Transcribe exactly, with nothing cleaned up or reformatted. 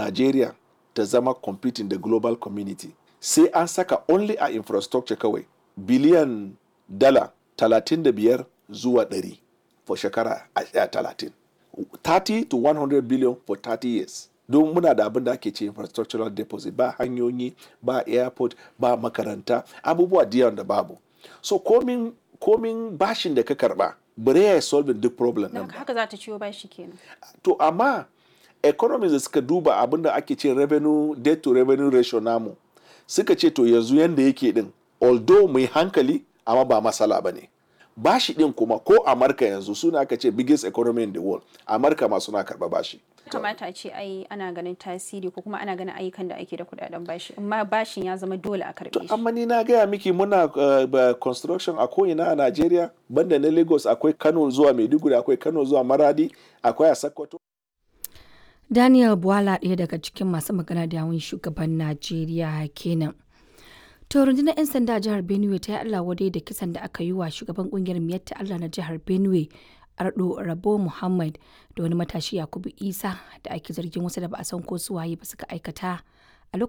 Nigeria ta zama competing da global community, sai an saka only a infrastructure kawai biliyan dala talatin da biyar zuwa ɗari for shekara talatin. thirty to one hundred billion for thirty years. Don muna da abin da ake ce infrastructural deposit: ba hanyoyi, ba airport, ba makaranta, abubuwa da da babu. So komin komin bashin da ka karba, bare ya solving duk problem din. Haka za ta ciwo bashi kenan. To amma economies da suka duba abin da ake ce revenue, debt to revenue ratio namu, suka ce to yanzu yanda yake din, although mai hankali, amma ba masala ba ne. Bashi din kuma, ko Amurka yanzu suna aka ce biggest economy in the world, Amurka ma suna karba bashi. Kamata a ce ai ana ganin tasiri ko kuma ana ganin ayyukan da ake da kudaden bashi, amma bashin ya zama dole a karbe shi. Amma ni na gaya miki, muna uh, construction a ko'ina a Najeriya, banda na Lagos, akwai Kano zuwa Maiduguri, akwai Kano zuwa Maradi, akwai a Sokoto. Daniel Bwala, ɗaya daga cikin masu magana da yawun shugaban Najeriya kenan. To rundunar 'yan sanda a jihar Benue ta yi Allah wadai da kisan da aka yi wa shugaban kungiyar Miyatta Allah na jihar Benue, Ardo Rabo Muhammad, da wani matashi Yakubu Isa, da ake zargin wasu da ba a san ko su waye ba suka aikata.